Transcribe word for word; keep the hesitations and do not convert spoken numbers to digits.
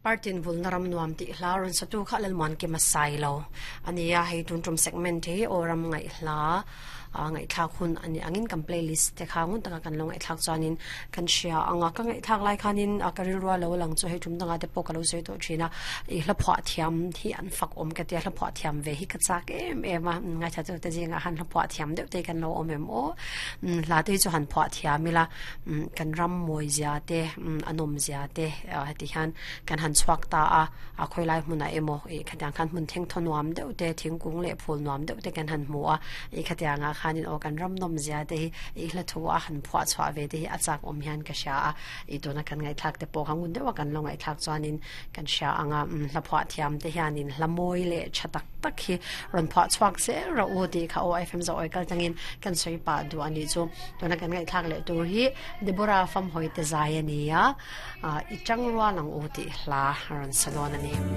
Partin vul naram nuam ti hla ron satu kha lal mon ki masai lo ania hei tun tum segment hi oram ngai hla ngai thak hun ani angin kan playlist te khangun taka kan lo ngai thak chuanin kan shia anga ka ngai thak lai khanin a karil ruwa lo lang chu hei tum danga te pawh ka lo sei to thina i hla phwa thiam hi an fak om ka tia hla phwa thiam ve hi ka chak em em a ngai tha chu te jinga han hla phwa thiam deuh te kan lo om em o hla te chu han phwa thiam ila kan ram moi zia te anom zia te ti hian kan han chuak ta a a khoilai hmuna emo e khatiang khan hmun theng thonuam deuh te thingkung le phul nuam deuh te kan han hmu a e khatianga khanin o kan ram nom zia te hi i hla thu a han phwa chwa ve te hi a chak om hian ka sha a i tuna kan ngai thak te pawh hangun deuh kan lo ngai thak chuanin kan sha anga hla phwa thiam te hianin hla moi le chatak tak hi ron phwa chhuak se ra u ti kha o fm zo oi kal tangin kan soi pa du ani chu tuna kan ngai thak le tur hi Deborah fam hoi te zai ani a i chang ruwa lang u ti hla ron salon ani.